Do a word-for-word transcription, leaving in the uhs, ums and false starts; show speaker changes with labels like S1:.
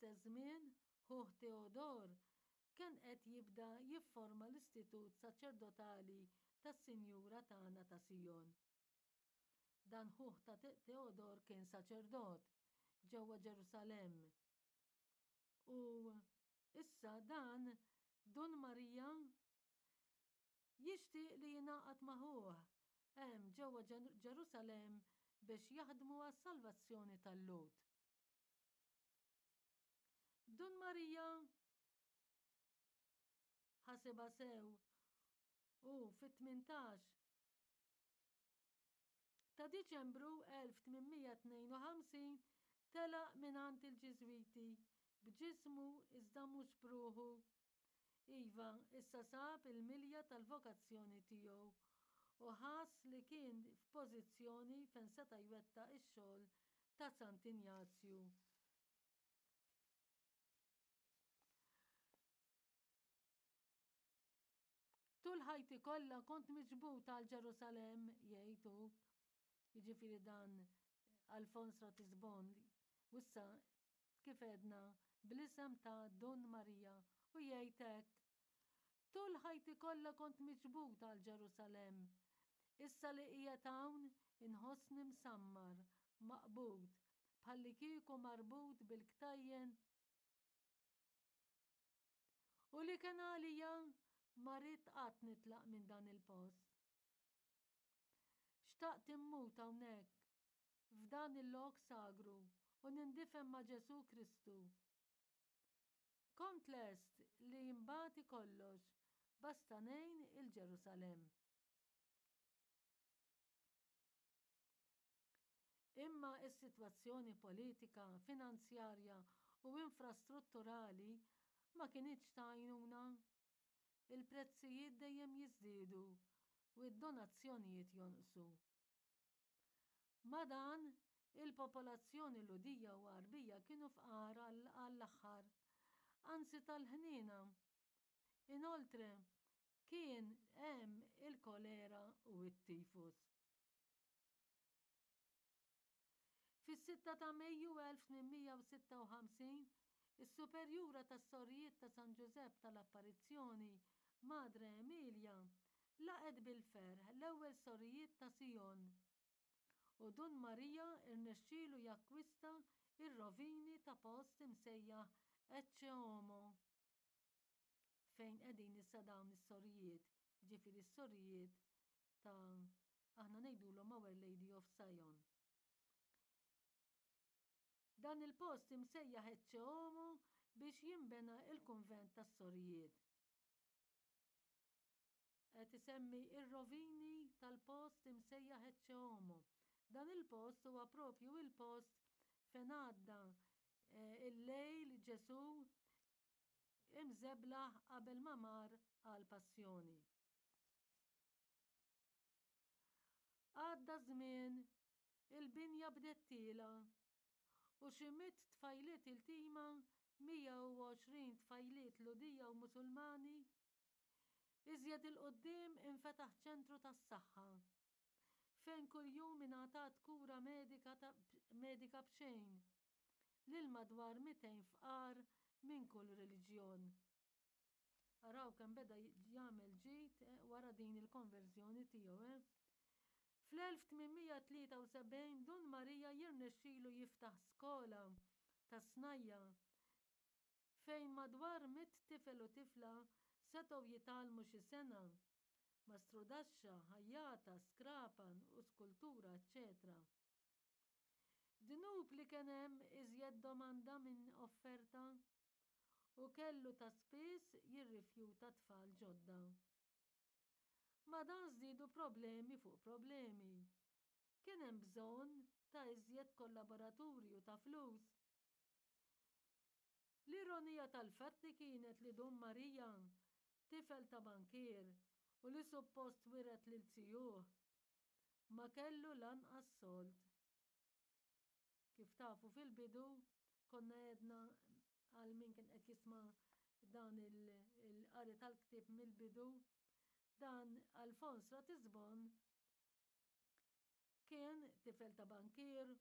S1: Fl-istess żmien, ħuh Teodor kien qed jibda jifforma l-Istitut Saċerdotali tas-Sinjura Tagħna ta' Sijon. Dan ħuh ta' Teodor kien saċerdot ġewwa Ġerusalemm. U issa dan Dun Marija jixtieq li jingħaqad ma' ħuh hemm ġewwa Ġerusalemm biex jaħdmu għas-salvazzjoni tal-Lhud. Dun Marija ħasibha sew u fit-tmintax ta' Diċembru elf tmien mija tnejn u ħamsin telaq mingħand il-Ġiżwiti b'ġismu iżda mhux b'ruħu. Iva, issa sab il-milja tal-vokazzjoni tiegħu u ħass li kien f'pożizzjoni fejn seta' jwettaq ix-xogħol ta' Sant'Injazju. Tul ħajti kollha kont miġbud għal Ġerusalemm, jgħid hu. Jiġifieri dan Alfons Ratisbon, u issa kif għedna bl-isem ta' Dun Marija, u jgħid hekk: Tul ħajti kollha kont miġbud għal Ġerusalemm. Issa li qiegħed hawn inħossni msammar, maqbud, bħallikieku marbut bil-ktajjen u li kien għalija ma ridt qatt nitlaq minn dan il-post. Xtaqt immut hawnhekk, f'dan il-lok sagru, u nindifen ma' Ġesù Kristu. Kont lest li nbati kollox basta ngħin il-Ġerusalemm. Imma s-sitwazzjoni politika, finanzjarja u infrastrutturali ma kinitx ta' għajnuna. Il-prezzijiet dejjem jiżdiedu u d-donazzjonijiet jonqsu. Ma' dan, il-popolazzjoni Lhudija u Għarbija kienu fqar għall-aħħar, anzi tal-ħniena. Inoltre, kien hemm il-kolera u t-tifus. Fis-sitta ta' Mejju elf tmien mija u sitta u ħamsin, is-Superjura tas-Sorijiet ta' San Ġużepp tal-Apparizzjoni, Madre Emilia, laqgħet bil-ferħ l-ewwel Sorijiet ta' Sion, u Dun Maria rnexxielu jakkwista r-rovini ta' post imsejjaħ Ecce Homo, fejn qegħdin issa dawn is-sorijiet, jiġifieri s-sorijiet ta' aħna ngħidulhom Our Lady of Sion. Dan il-post imsejjaħ Ecce Homo biex jinbena il-kunvent tas-sorijiet. Qed isemmi ir-rovini tal-post imsejjaħ Ecce Homo. Dan il-post huwa propju il-post fejn għadda, eh, il-lejl Ġesù imżeblaħ qabel ma mar għall-passjoni. Għadda żmien, il-binja bdiet tiela u xi mitt tfajliet iltima, mija u għoxrin tfajliet Lhudija u Musulmani. Iżjed 'il quddiem infetaħ ċentru tas-saħħa fejn kuljum ingħatat kura medika ta' medika b'xejn lil madwar mitejn fqar minn kull reliġjon. Araw kemm beda jagħmel ġid eh, wara din il-konverżjoni tiegħu. Eh? Fl-elf tmien mija tlieta u sebgħin Dun Marija jirnexxilu jiftaħ skola tas-snajja fejn madwar mitt tifel u tifla setgħu jitgħallmu xi sengħa, mastrudaxxa, ħajjata, skrapan u skultura, eċċetera Dnub li kien hemm iżjed domanda minn offerta u kellu ta' spiss jirrifjuta tfal ġodda. Ma' dan żdiedu problemi fuq problemi. Kien hemm bżonn ta' iżjed kollaboraturi u ta' flus. L-ironija tal-fatti kienet li Dun Marija, tifel ta' bankier u li suppost wiret lil zijuh, ma kellu lanqas sold. Kif tafu fil-bidu konna għedna għal min kien qed jisma' dan il-qari tal-ktieb mill-bidu, dan Alfons Ratisbon kien tifel ta' bankier